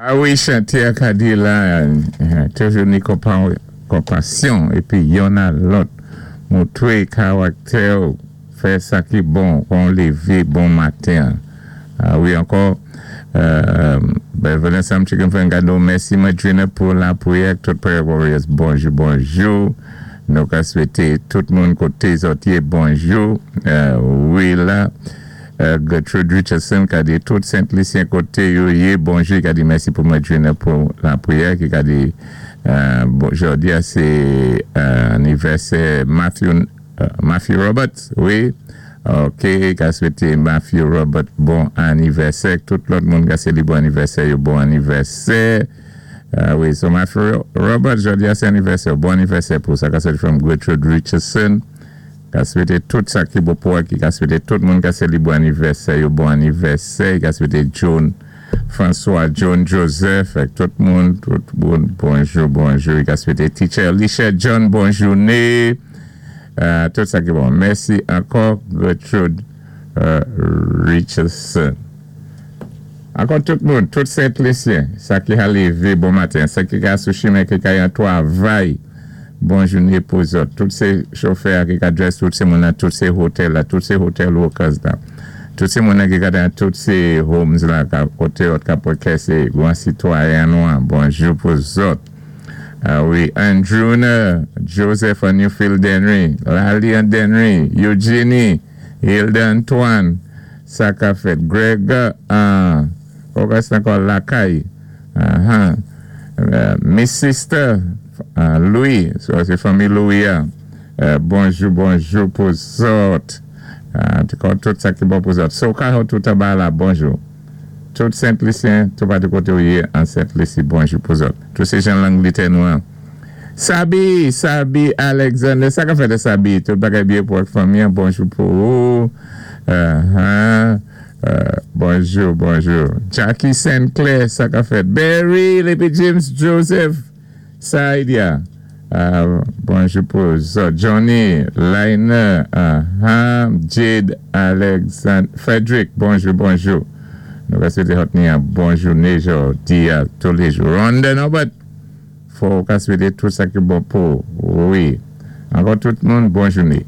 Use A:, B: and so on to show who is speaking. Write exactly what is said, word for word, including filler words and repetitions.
A: A wi, chanté a ka di la, toujou ni konpasyon, épi youn a lòt, moutwé karaktè, fè sa ki bon, kon lévé bon maten. A wi, ankò, ben, Vanessa Chicken Fengado, mèsi Madrina pou lapriyè, tout Prayer Warriors, bonjou, bonjou. Nou ka swété tout moun koté zòt yé, bonjou. Wi, la, Gertrude Richardson ka di tout Sent Lisyen koté yo yé, bonjou, ka di mèsi pou Madrina pou lapriyè, ki ka di, bon, jòdi a sé anivèsè Matthew, Matthew Roberts, wi. Ok, ka swété Matthew Robert bon anivèsè, tout lòt moun ka sé li bon anivèsè, yo bon anivèsè. Wi, so Matthew Robert, jòdi a sé anivèsè, bon anivèsè pou sa, ka swété from Gertrude Richardson. Ka swété tout sa ki bon pou ki ka swété tout moun ka sé li bon anivèsè, yo bon anivèsè, ka swété John François, John Joseph, ak tout moun, tout moun, bonjou, bonjou, ka swété Teacher Alicia John, bon jouné, tout sa ki bon. Mèsi ankò, Gertrude Richardson. Ankò tout moun, tout Sent Lisyen, sa ki ka lévé bon maten, sa ki ka sou chimen ki ka yon twavay, bon jouné pou zòt. Tout sé chofè ki ka dress, tout sé moun nan, tout sé hotel la, tout sé hotel workers la. Tout sé moun nan ki ka dan tout sé homes la, ka koté ot ka pou sé gwan sitwayen nou an, bonjou pou zòt. Wi, Andrew Joseph an Newfield Dennery, Lali an Dennery, Eugenie, Hilda Antoine, sa ka fèt, Greg, August ankò Lakay, Miss Sister, Louis, so sé fanmi Louis, bonjou, bonjou pou zòt. Tout sa ki bon pou zòt. So ka tout aba la, bonjou. Tout Sent Lisyen, tout patou koté ou yé an Sent Lisi, bonjou pou zòt. Tout sé jan Langlétè nou an. Sabi, Sabi Alexander, sa ka fèt de Sabi, tout bagay byen pou ak fanmi, bonjou pou ou. Bonjou, bonjou. Jackie Saint Clair, sa ka fèt. Barry, Lepi James Joseph, Saidia. Bonjou pou zòt. Johnny, Liner, Jade Alexander, Frederick, bonjou, bonjou. Nou ka swété zòt ni an bon jouné jòdi a tou lé jou. Ronda Norbert, fò ka swété tout sa ki bon pou, wi. Ankò tout moun, bon jouné.